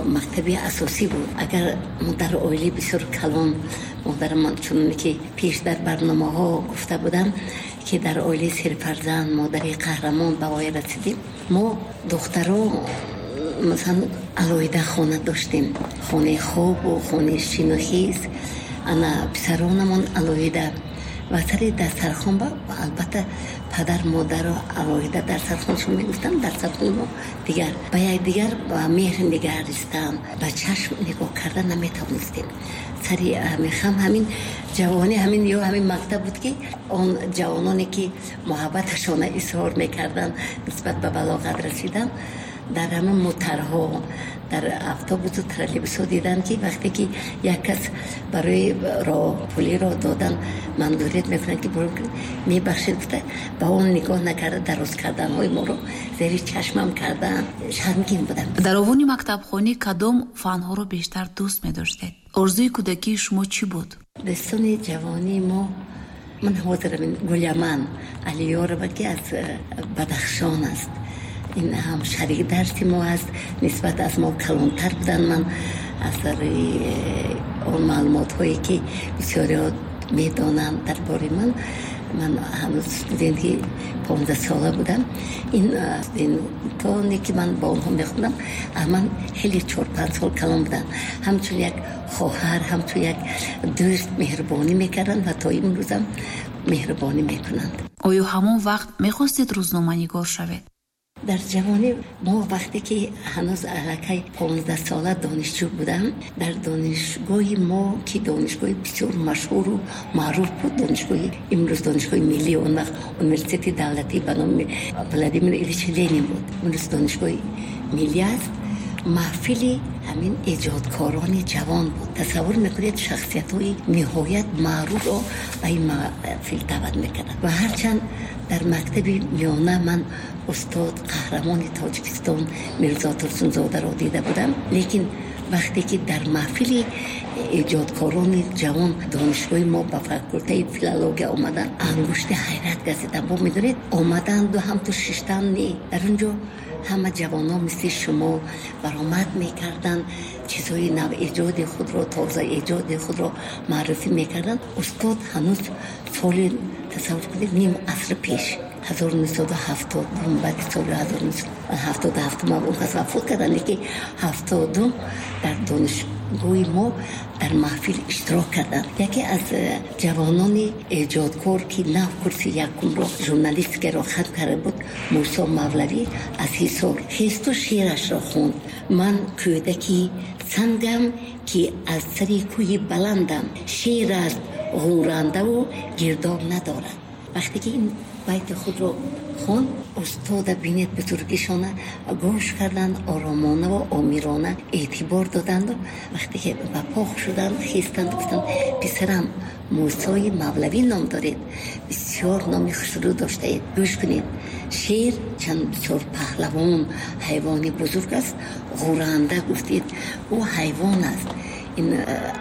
Мактаби асосӣ буд. Агар мо дар оилаи бисёр калон, модарам, чуноне ки пеш дар барномаҳо гуфта будам, ки дар оилаи серфарзанд, модари қаҳрамон ба воя расидем, мо духтаро масалан алоҳида хона доштем, хонаи хобу хонаи шинохиз, ана писаронамон алоҳида. Ва сари дастархон ба албатта падар модаро алоҳида дар сархоншон мегуфтанд, дар сархони мо дигар. Ба якдигар ба меҳр нигаристан, ба чашм нигоҳ кардан наметавонистем. Сари ҳам ҳамин ҷавонӣ, ҳамин ё ҳамин мактаб буд, ки он ҷавононе ки муҳаббаташона изҳор мекарданд нисбат ба балоғат расидан, дар ҳамин мутарҳо, дар автобусу троллейбусҳо дидам, ки вақте ки як кас барои роҳпулиро додан мандурiyat мекунад, ки мебахшед гуфта, ба он нигоҳ накарда дароз карданҳои моро зери чашмам кардан, шармгин будам. Дар овони мактабхонӣ кадом фанҳоро бештар дӯст медоштед? Орзуи кӯдакии шумо чӣ буд? Дӯстони ҷавонии мо, ман ҳозирам Гуляман Алиёрова, ки аз Бадахшон аст, ин ҳам шарик дарси мо аст, нисбат аз мо калонтар буданд. Ман аз рӯи он маълумотҳое ки бисёриҳо медонанд дар бораи ман, ман ҳанӯз студенти 15-сола будам. Ин студентоне ки ман бо онҳо мехондам, аз ман хеле 4-5 сол калон буданд. Ҳамчун як хоҳар, ҳамчун як дӯст меҳрубонӣ мекарданд ва то имрӯзам меҳрубонӣ мекунанд. Оё ҳамон вақт мехостед рӯзноманигор шавед? Дар ҷавонӣ мо вақте ки ҳанӯз аллакай 15-сола донишҷӯ будам, дар донишгоҳи мо, ки донишгоҳи бисёр машҳуру маъруф буд, донишгоҳи имрӯз донишгоҳи миллӣ, он вақт университети давлатӣ ба номи Владимир Ильич Ленин буд, имрӯз донишгоҳи миллӣ аст, маҳфили ҳамин эҷодкорони ҷавон буд. Тасаввур мекунед, шахсиятҳои ниҳоят маъруфро ба ин маҳфил даъват мекарданд. Ва ҳарчанд дар мактаби миёна ман устод қаҳрамони Тоҷикистон Мирзо Турсунзодаро дида будам, лекин вақте ки дар маҳфили эҷодкорони ҷавон донишгоҳи мо ба факултаи филология омаданд, ангушти ҳайрат газидам. Бо медонед, омаданду ҳамту шиштан не, дар он ҷо ҳама ҷавонон мисли шумо баромад мекарданд, чизҳои навэҷоди худро, тоза эҷоди худро маърифӣ мекарданд. Устод ҳанӯз соли, тасаввур кунед, ним аср пеш, 1970, баъди соли 1977 он кас вафот карданд, лекин 72 дар донишгоҳи мо дар маҳфил иштирок карданд. Яке аз ҷавонони эҷодкор, ки нав курси якумро журналистикаро хатм карда буд, Мусо Мавлавӣ аз Ҳисор, хесту шеърашро хонд. Ман кӯдаки сангам, ки аз сари кӯҳи баландам, шеър аст ғӯрандаву гирдоб надорад. Вақте ки ин байти худро хонд, устода бинед, бузургишона гӯш карданд, оромона ва омирона эътибор доданду вақте ки ба по шуданд, хестанд, гуфтанд: писарам, Мусои Мавлавӣ ном доред, бисёр номи хушрӯ доштаед, гӯш кунед, шер чанд бисёр паҳлавон ҳайвони бузург аст, ғӯранда гуфтед, ӯ ҳайвон аст. Ин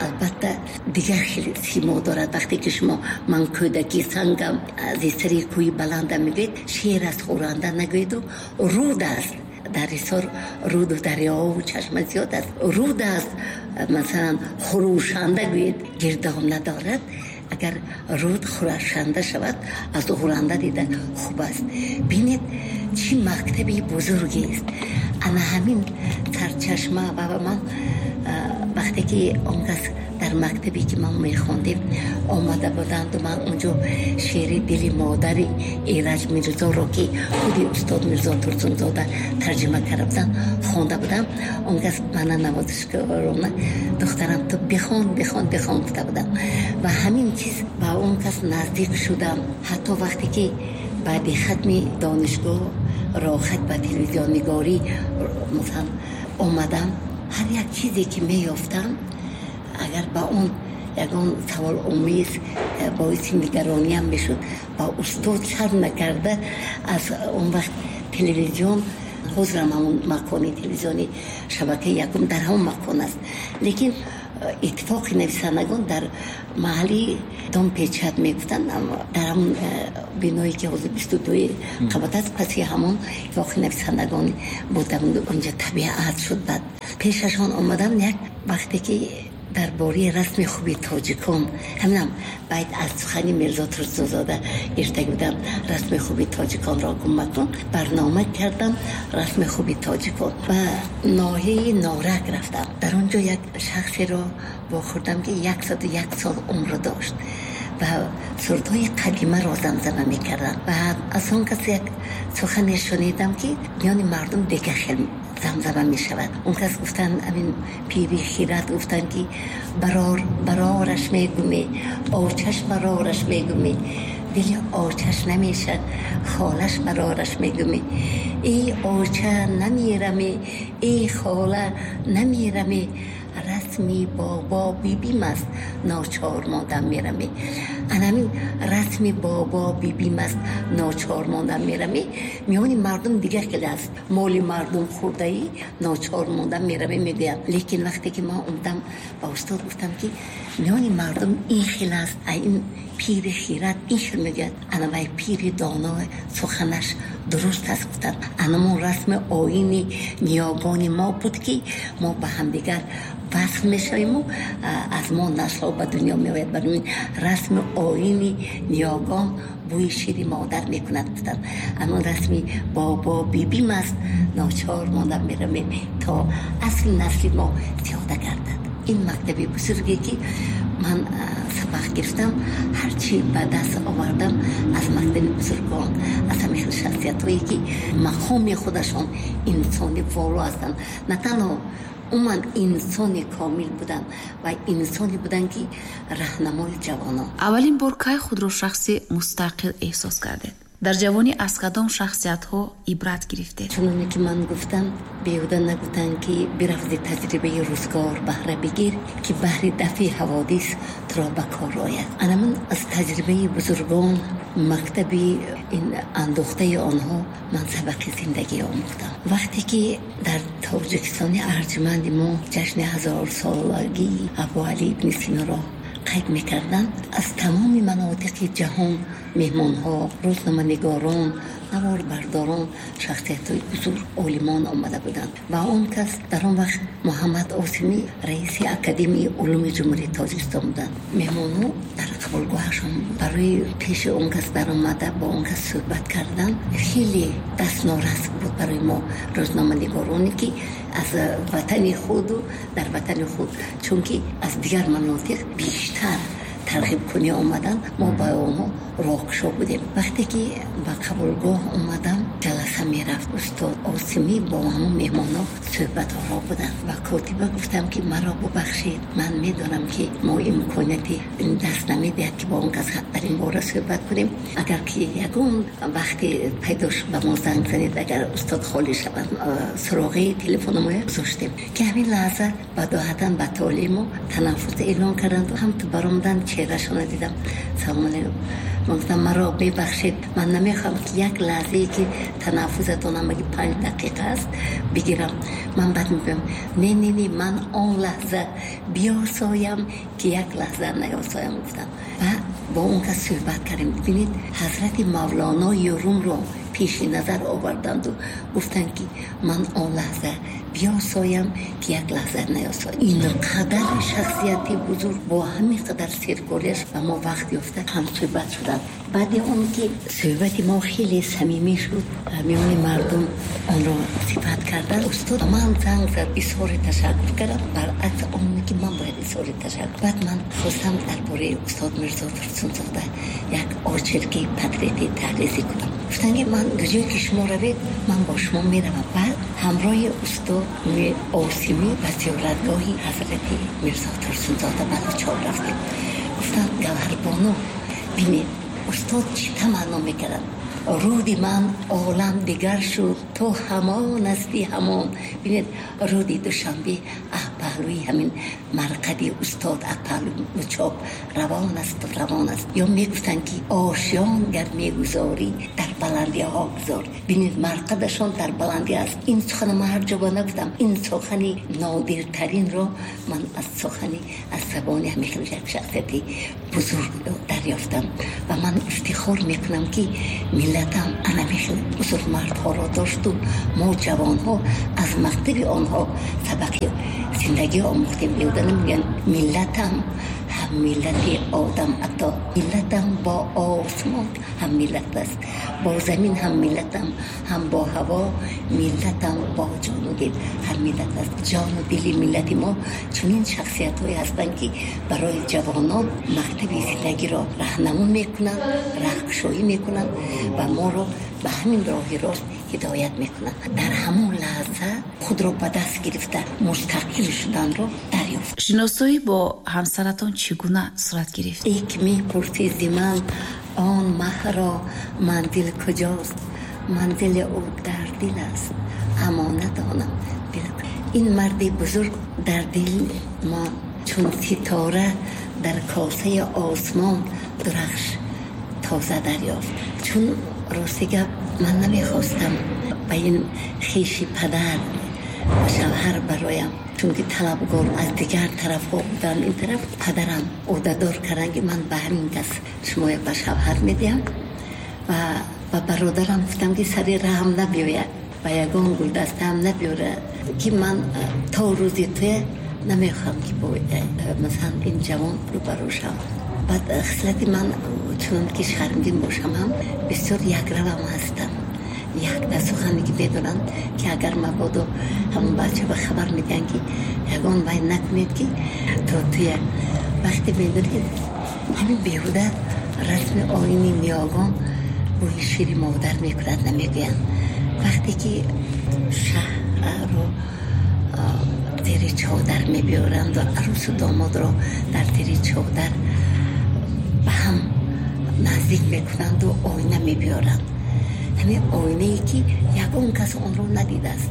албатта дигар хеле симо дорад. Вақте ки шумо ман кӯдаки сангам, аз сари кӯҳи баландам мегӯед, шер аст ғӯранда нагӯеду, руд аст. Дар Ҳисор руду дарёву чашма зиёд аст, руд аст, масалан хурӯшанда гӯед, гирдоб надорад. Агар руд хурӯшанда шавад, аз ғӯранда дида хуб аст. Бинед, чӣ мактаби бузургест. Ана ҳамин сарчашма ва ман вақте ки он кас дар мактабе ки ман мехондем омада буданду, ман онҷо шеъри дили модари Эраҷ Мирзоро, ки худи устод Мирзо Турсунзода тарҷима карда буданд, хонда будам. Он кас мана навозишкорона: духтарам, ту бихон, бихон, бихон, гуфта будам. Ва ҳамин чиз ба он кас наздик шудам. Ҳатто вақте ки баъди хатми донишгоҳ роҳат ба телевизионнигорӣ масалан омадам, ҳар як чизе ки меёфтам, агар ба он ягон саволомез боиси нигарониам мешуд, ба устод шарм накарда, аз он вақт телевизион, ҳозирам ҳамон макони телевизиони шабакаи якум дар ҳамон макон аст, лекин иттифоқи нависандагон дар маҳалли дом печат мегуфтанд, дар ҳамон биное ки ҳозир 22 қабат аст, паси ҳамон иттифоқи нависандагон буд. Онҷа табиат шуд. Баъд Пешашон омадам як вақте ки дар бораи расми хуби тоҷикон, ҳаминам байт аз сухани Мирзо Турсунзода гирифта будам, расми хуби тоҷиконро гум макун, барнома кардам расми хуби тоҷикон. Ба ноҳияи Норак рафтам. Дар он ҷо як шахсеро вохӯрдам, ки 101 сол умр дошт ва сурудҳои қадимаро замзама мекардам. Ва аз он кас як сухане шунидам, ки миёни мардум дигар хел замзама мешавад. Он кас гуфтанд, ҳамин пири хират гуфтанд, ки барор барораш мегуме, очаш барораш мегуме, дили очаш намешад, холаш барораш мегуме, эй оча намераме, эй хола намераме, расми бобо бибим аст, ночор мондам мераме. Ана ҳамин расми бобо бибим аст, ночор мондам мераме, миёни мардум дигар хеле аст. Моли мардум хӯрдаӣ, ночор мондам мераме мегӯям. Лекин вақте ки ман омадам ба устод гуфтам, ки миёни мардум ин хел аст, ин пири хират ин хел мегӯяд, ана вай пири доно суханаш дуруст аст, гуфтанд. Анамон расми оини ниёгони мо буд, ки мо ба ҳамдигар васл мешавиму аз мо наслҳо ба дунё меояд. Барои ин расми оини ниёгон бӯи шири модар мекунад, гуфтанд. Амон расми бобо бибим аст, ночор мондам меравем, то асли насли мо зиёда гардад. Ин мактаби бузурге, ки ман сабақ гирифтам, ҳарчи ба даст овардам аз мактаби бузургон, аз ҳамин хел шахсиятҳое, ки мақоми худашон инсони воло ҳастанд, на танҳо умуман инсони комил буданд ва инсоне буданд, ки раҳнамои ҷавонон. Аввалин бор кай худро шахси мустақил эҳсос кардед? Дар ҷавонӣ аз кадом шахсиятҳо ибрат гирифтед? Чуноне ки ман гуфтам, беҳуда нагуфтанд, ки бирафзи таҷрибаи рӯзгор баҳра бигир, ки баҳри дафъи ҳаводис туро ба кор ояд. Анамун аз таҷрибаи бузургон, мактаби ин андохтаи онҳо ман сабақи зиндагӣ омӯхтам. Вақте ки дар Тоҷикистони арҷуманди мо ҷашни ҳазорсолагии Абуалӣ ибни Синоро қайд мекарданд, аз тамоми манотиқи ҷаҳон меҳмонҳо, рӯзноманигорон, наворбардорон, шахсиятҳои бузург, олимон омада буданд. Ва он кас дар он вақт Муҳаммад Осимӣ раиси Академияи улуми Ҷумҳурии Тоҷикистон буданд. Меҳмонҳо дар қабулгоҳашон барои пеши он кас даромада бо он кас суҳбат кардан хеле дастнорас буд барои мо, рӯзноманигороне, ки аз ватани худу дар ватани худ, чунки аз дигар манотиқ бештар тарғибкунӣ омадан, мо ба онҳо роҳкушо будем. Вақте ки ба қабулгоҳ омадам, ҷаласа мерафт, устод Осимӣ бо ҳамон меҳмонҳо суҳбатҳоро буданд. Ба котиба гуфтам, ки маро бубахшед, ман медонам, ки мо имконияти даст намедиҳад, ки бо он кас дар ин бора суҳбат кунем. Агар ки ягон вақте пайдо шуд, ба мо занг занед, агар устод холӣ шаванд. Суроғаи телефономоя гузоштем, ки ҳамин лаҳза бадоҳатан ба толеи мо танаффус эълон карданду ҳамту баромадан, чеҳрашонро дидам. Салому алайкум. Ман гуфтам, маро мебахшед, ман намехоҳам, ки як лаҳзае, ки танаффусатон ҳамаги 5 дақиқа аст, бигирам. Ман баъд мегӯям. Не, не, не, ман он лаҳза биёсоям, ки як лаҳза наёсоям, гуфтам ва бо он кас суҳбат кардем. Бибинед, ҳазрати Мавлонои Румро пеши назар оварданду гуфтанд, ки ман он лаҳза биёсоям, ки як лаҳза наёсоям. Ин қадар шахсияти бузург бо ҳамин қадар серкориаш ба мо вақт ёфта ҳамсӯҳбат шуданд. Баъди он ки суҳбати мо хеле самимӣ шуд, миёни мардум онро сифат карданд. Устод ман занг зад, изҳори ташаккур кардам, баръакси он ки ман бояд изҳори ташаккур. Баъд ман хостам дар бораи устод Мирзо Турсунзода як очерки портрети таҳризӣ кунам. Гуфтанд, ки ман ҷое ки шумо равед, ман бо шумо меравам. Баъд ҳамроҳи устод Осимӣ ба зиёратгоҳи ҳазрати Мирзо Турсунзода Балучор рафтем. Гуфтанд: «Гавҳарбону, бинед, устод чӣ таманно мекарданд: руди ман олам дигар шуд, то ҳамон асти ҳамон». Бинед, руди Душанбе паҳлӯи ҳамин марқади устод, паҳлӯи Мучоб равон аст, равон аст. Ё мегуфтанд, ки ошён гар мегузорӣ, дар баландиҳо гузор. Бинед, марқадашон дар баландӣ аст. Ин сухана ман ҳар ҷо ба нагуфтам. Ин сухани нодиртаринро ман аз сухани, аз забони ҳамин хел як шахсияти бузург дарёфтам ва ман ифтихор мекунам, ки миллатам анами хел бузургмардҳоро дошту мо ҷавонҳо аз мактаби онҳо сабақи Зиндагӣ омӯхтем. Беҳуда намегӯянд миллатам ҳам миллати одам ато, миллатам бо осмон ҳам миллат аст, бо замин ҳам миллатам, ҳам бо ҳаво миллатам, бо ҷону дил ҳам миллат аст. Ҷону дили миллати мо чунин шахсиятҳое ҳастанд, ки барои ҷавонон мактаби зиндагиро раҳнамун мекунанд, раҳкушоӣ мекунанд ва моро ба ҳамин роҳи рост ҳидоят мекунанд. Дар ҳамон лаҳза худро ба даст гирифта мустақил шуданро дарёфт. Шиносоӣ бо ҳамсаратон чӣ гуна сурат гирифт? Эй ки мепурсӣ зи ман он маҳро манзил куҷост, манзили ӯ дар дил аст, аммо надонам дил. Ин марди бузург дар дил мо чун ситора дар косаи осмон дурахш тоза дарёфт. Чун рости гап ман намехостам ба ин хеши падар шавҳар бароям, чунки талабгор аз дигар тарафҳо буданд. Ин тараф падарам ӯҳдадор карданд, ки ман ба ҳамин кас шумоя ба шавҳар медиҳам ва ба бародарам гуфтам, ки сари раҳм набиёяд ва ягон гулдастаам набиёрад, ки ман то рӯзи туя намехоҳам, ки бо масалан ин ҷавон рӯбарӯ шавам. Баъд хислати ман чунон ки шармгин бошам ҳам бисёр якравам ҳастам. Як сухане ки медонанд, ки агар мабодо ҳамон бача ба хабар медиҳанд, ки ягон вай накунед, ки то туя вақте медонед, ки ҳамин беҳуда расми оини ниёгон бӯи шири модар мекунад намегӯянд. Вақте ки шаҳрро зери чодар мебиёранд ва арӯсу домодро дар зери чодар ба ҳам наздик мекунанду оина мебиёранд, ҳамин оинае ки ягон кас онро надидааст,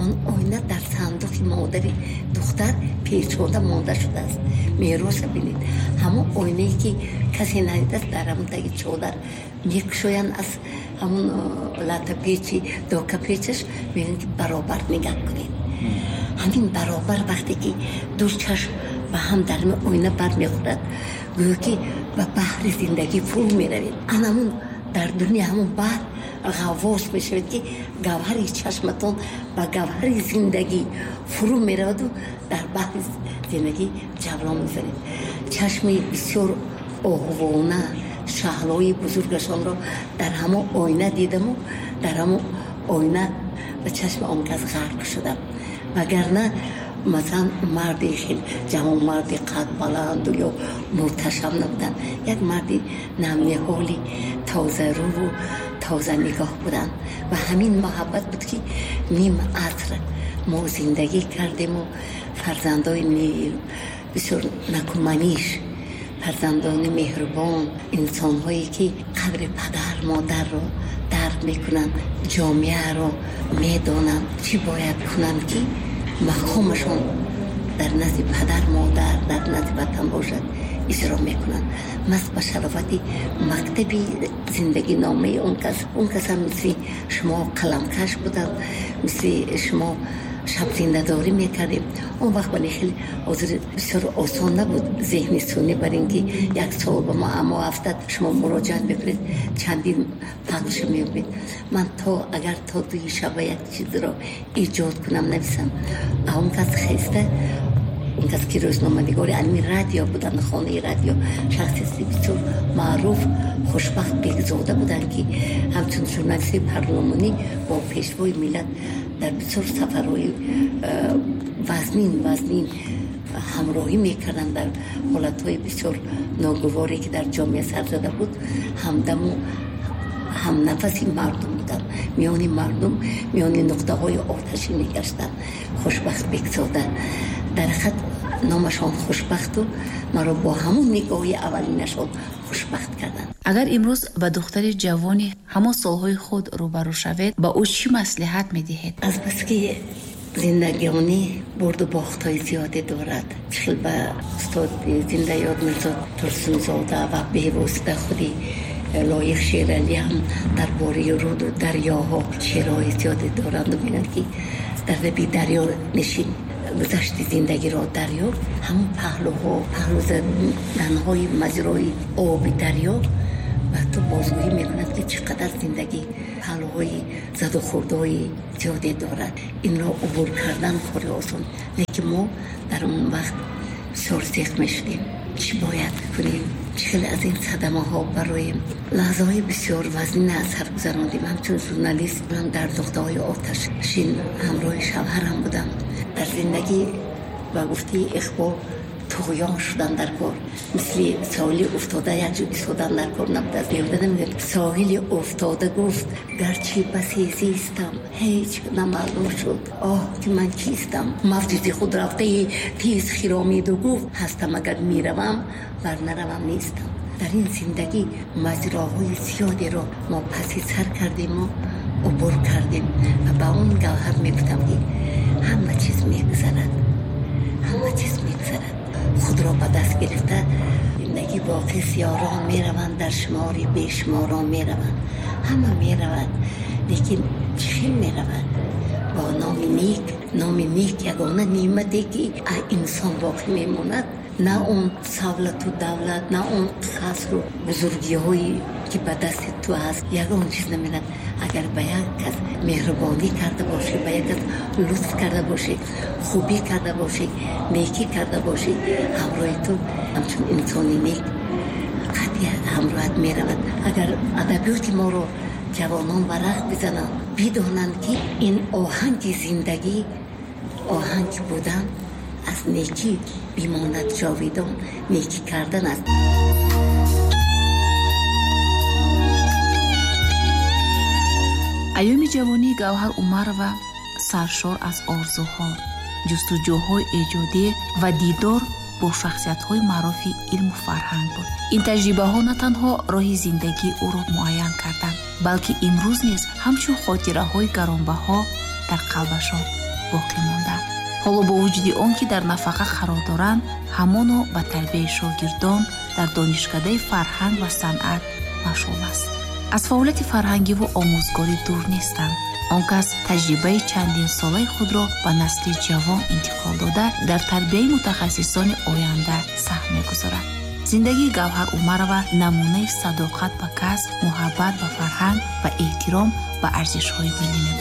он оина дар сандуқи модари духтар печода монда шудааст. Мероса бинед, ҳамон оинае ки касе надидааст дар ҳамон таги чодар мекушоянд, аз ҳамон латапечи докапечаш мегӯянд, ки баробар нигаҳ кунед. Ҳамин баробар вақте ки ду чашм ба ҳам дар оина бармехӯрад, гӯё ки ба баҳри зиндагӣ фурӯ меравед. Анамун дар дуни ҳамон баҳр ғаввос мешавед, ки гавҳари чашматон ба гавҳари зиндагӣ фурӯ мераваду дар баҳри зиндагӣ ҷавлон мезанед. Чашми бисёр оҳувона шаҳлои бузургашонро дар ҳамон оина дидаму дар ҳамон оина ба чашми он кас ғарқ шудам. Вагарна масалан марди хел ҷавонмарди қадбаланду ё мурташам набуданд. Як марди намниҳоли тозарӯву тозанигоҳ буданд ва ҳамин муҳаббат буд, ки ним аср мо зиндагӣ кардему фарзандои бисёр накуманиш, фарзандони меҳрубон, инсонҳое ки қадри падар модарро дарк мекунанд, ҷомеаро медонанд, чӣ бояд кунанд, ки мақомашон дар назди падар модар, дар назди ватан бошад, иҷро мекунанд. Мас ба шарофати мактаби зиндагиномаи он кас. Он кас ҳам мисли шумо қаламкаш буданд, мисли шумо шабзиндадорӣ мекардем. Он вақт вале хеле ҳозир бисёр осон набуд зеҳни сунӣ, бар ин ки як савол ба мо аммо афтад, шумо муроҷиат мекунед, чандин пахша меёбед. Ман то агар то дуи шаба як чизро эҷод кунам, нависам, а он кас хеста, он кас ки рӯзноманигори алми радио буданд, хонаи радио, шахсияти бисёр маъруф Хушбахт Бегзода буданд, ки ҳамчун журналисти парлумонӣ бо пешвои миллат дар бисёр сафарҳои вазнин ҳамроҳӣ мекарданд, дар ҳолатҳои бисёр ногуворе ки дар ҷомеа сар зада буд, ҳамдаму ҳамнафаси мардум буданд, миёни мардум, миёни нуқтаҳои оташӣ мегаштанд. Хушбахт Бегзода дар ҳақиқат номашон хушбахту маро бо ҳамон нигоҳи аввалинашон хушбахт карданд. Агар имрӯз ба духтари ҷавони ҳамон солҳои худ рӯбарӯ шавед, ба ӯ чӣ маслиҳат медиҳед? Азбаски зиндагионӣ бурду бохтҳои зиёде дорад, хел ба устоди зиндаёд Мирзо Турсунзода ва бевосита худи Лоиқ Шералӣ ҳам дар бораи руду дарёҳо шеърҳои зиёде доранд. Мегӯянд, ки дар лаби дарё нишин, гузашти зиндагиро дарё, ҳамон паҳлӯҳо, паҳлӯ заданҳои маҷрои оби дарё Ба ту бозгӯӣ мекунад, ки чӣ қадар зиндагӣ паҳлӯҳои задухӯрдҳои зиёде дорад. Инро убур кардан кори осон, лекин мо дар он вақт бисёр зиқ мешудем. Чӣ бояд кунем? Чӣ хеле аз ин садамаҳо бароем? Лаҳзаҳои бисёр вазнин аз сар гузарондем. Ҳамчун журналист ман дар нуқтаҳои оташшин ҳамроҳи шавҳарам будам. Дар зиндагӣ ба гуфтаи Иқбол туғён шудан дар кор, мисли соҳили уфтода як ҷо истодан дар кор набудааст. Беҳуда намегӯяд соҳили уфтода гуфт гарчи басе зистам, ҳеҷ намаълум шуд оҳ ки ман кистам. Мавҷи худ рафтаи тез хиромиду гуфт ҳастам агар меравам, вар наравам нестам. Дар ин зиндагӣ маҷроҳои зиёдеро мо паси сар кардему убур кардем ва ба он Гавҳар мегуфтам, ки ҳама чиз мегузарад, ҳама чиз мегузарад. Худро ба даст гирифта зиндагӣ боқист. Ёрон мераванд, дар шумори бешуморон мераванд, ҳама меравад, лекин чӣ хел меравад? Бо номи нек. Номи нек ягона неъмате, ки инсон боқӣ мемонад. На он савлату давлат, на он қасру бузургиҳое, ки ба дасти ту ҳаст, ягон чиз намерад. Агар ба як кас меҳрубонӣ карда бошӣ, ба як кас лутф карда бошӣ, хубӣ карда бошӣ, некӣ карда бошӣ, ҳамроҳи ту ҳамчун инсони нек қатъи ҳамроҳат меравад. Агар адабиёти моро ҷавонон варақ бизананд, бидонанд, ки ин оҳанги зиндагӣ, оҳанги будан аз некӣ бимонад ҷовидон, некӣ кардан аст. Айёми ҷавонии Гавҳар Умарова саршор аз орзуҳо, ҷустуҷӯҳои эҷодӣ ва дидор бо шахсиятҳои маъруфи илму фарҳанг буд. Ин таҷрибаҳо на танҳо роҳи зиндагии ӯро муайян карданд, балки имрӯз низ ҳамчун хотираҳои гаронбаҳо дар қалбашон боқӣ монданд. Ҳоло бо вуҷуди он ки дар нафақа қарор доранд, ҳамоно ба тарбияи шогирдон дар донишкадаи фарҳанг ва санъат машғул аст. Аз фаъолияти фарҳангиву омӯзгорӣ дур нестанд. Он кас таҷрибаи чандинсолаи худро ба насли ҷавон интиқол дода, дар тарбияи мутахассисони оянда саҳм мегузорад. Зиндагии Гавҳар Умарова намунаи садоқат ба касб, муҳаббат ба фарҳанг ва эҳтиром ба арзишҳои миллӣ мебошад.